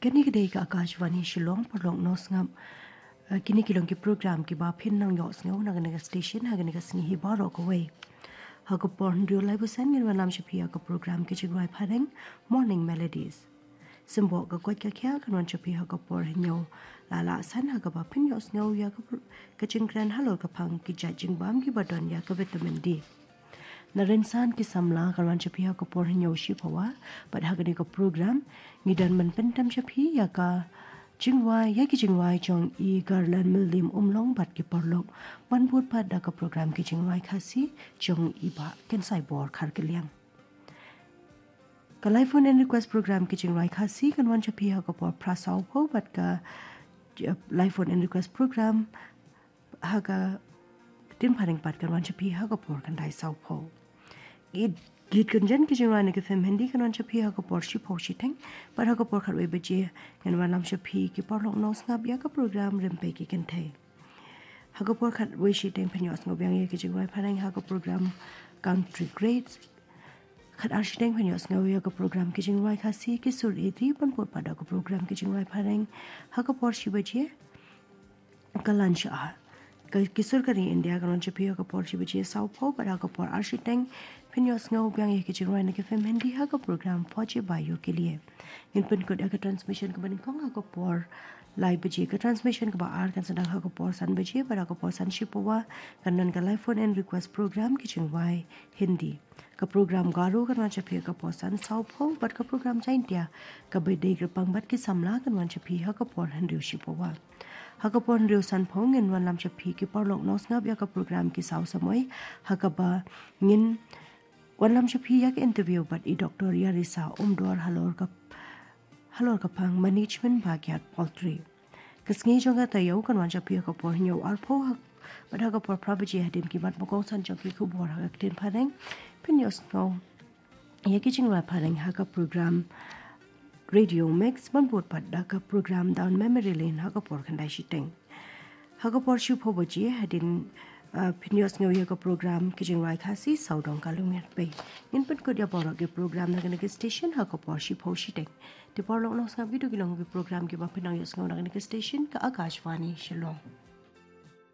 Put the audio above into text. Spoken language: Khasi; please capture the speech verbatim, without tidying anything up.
Kane ka dei ka Akashvani Shillong, paralok nongsngap. Eh, kine ki long ki program kiba phin nang ïohsngew na kane ka station ha kane ka sngi hi baroh kawei. Ha ka por hynriew lai basan ngin wanlam sha phi ha ka program ki jingrwai phareng, Morning Melodies. Symboh ka koit ka khiah kan wan sha phi ha ka por hynñiew lai san ha kaba phin ïohsngew ïa ka pro-, ka jingkren halor ka phang ki jait jingbam kiba don ïa ka vitamin D. Na rynsan ki samla kan wan sha phi ha ka por hynñiew shiphew, bad ha kane ka program ngi don ban pyntip sha phi ïa ka jingrwai, ïa ki jingrwai jong i Garland Myllim Umlong bad ki paralok, ban bud pat da ka program ki jingrwai Khasi jong i Bah Kynsaibor Kharkylliang. Ka live phone in request program ki jingrwai Khasi kan wan sha phi ha ka por phra sawphew, bad ka, eh, live phone in request program ha ka ktien phareng pat kan wan sha phi ha ka por khyndai sawphew. Git, git kynjat ki jingrwai na ki film Hindi kan wan sha phi ha ka por shiphew shiteng, bad ha ka por khatwei baje ngin wanlam sha phi ki paralok nongsngap ïa ka program Rympei ki Kynthei. Ha ka por khatwei shiteng phin ïohsngew biang ïa ki jingrwai phareng ha ka program Country Greats. Khatar shiteng phin ïohsngew ïa ka program ki jingrwai Khasi Ki Sur Ïeit Ri, ban bud pat da ka program ki jingrwai phareng ha ka por shi baje. Ka lunch hour, ka Ki Sur Ka Ri India kan wan sha phi ha ka por shi baje sawphew, bad ha ka por ar shiteng phin ïohsngew biang ïa ki jingrwai na ki film Hindi ha ka program Fauji Bhaiyon Ke Liye. Ngin pynkut ïa ka transmission kaba nyngkong ha ka por lai baje. Ka transmission kaba ar kan sdang ha ka por san baje, bad ha ka por san shiphew kan don ka live phone in request program ki jingrwai Hindi. Ka program Garo kan wan sha phi ha ka por san sawphew, bad ka program Jaintia, kaba dei kyrpang bad ki samla, kan wan sha phi ha ka por hynriew shiphew. Ha ka por hynriew sanphew ngin wanlam sha phi ki paralok nongsngap ïa ka program Ki Saw Samoi, ha kaba ngin wanlam sha phi ïa ka interview bad i Doctor Yarisa Umdor halor ka, halor ka phang management backyard poultry. Ka sngi jong ka taïew kan wan sha phi ha ka por hynñiew arphew, ha, bad ha ka por phra baje hadien ki mat ba kongsan jong ki khubor ha ka ktien phareng phin ïohsngew ïa ki jingrwai phareng ha ka program Radio Mix, ban bud pat da ka program Down Memory Lane ha ka por khyndai shiteng. Ha ka por shiphew baje hadien, ah, phin ïohsngew ïa ka program ki jingrwai Khasi Sawdong Ka Lum Ïa Pei. Ngin pynkut ïa baroh ki program na kane ka station ha ka por shiphew shiteng. Te paralok nongsngap, kito ki long ki program kiba phin nang ïohsngew na kane ka station ka Akashvani Shillong.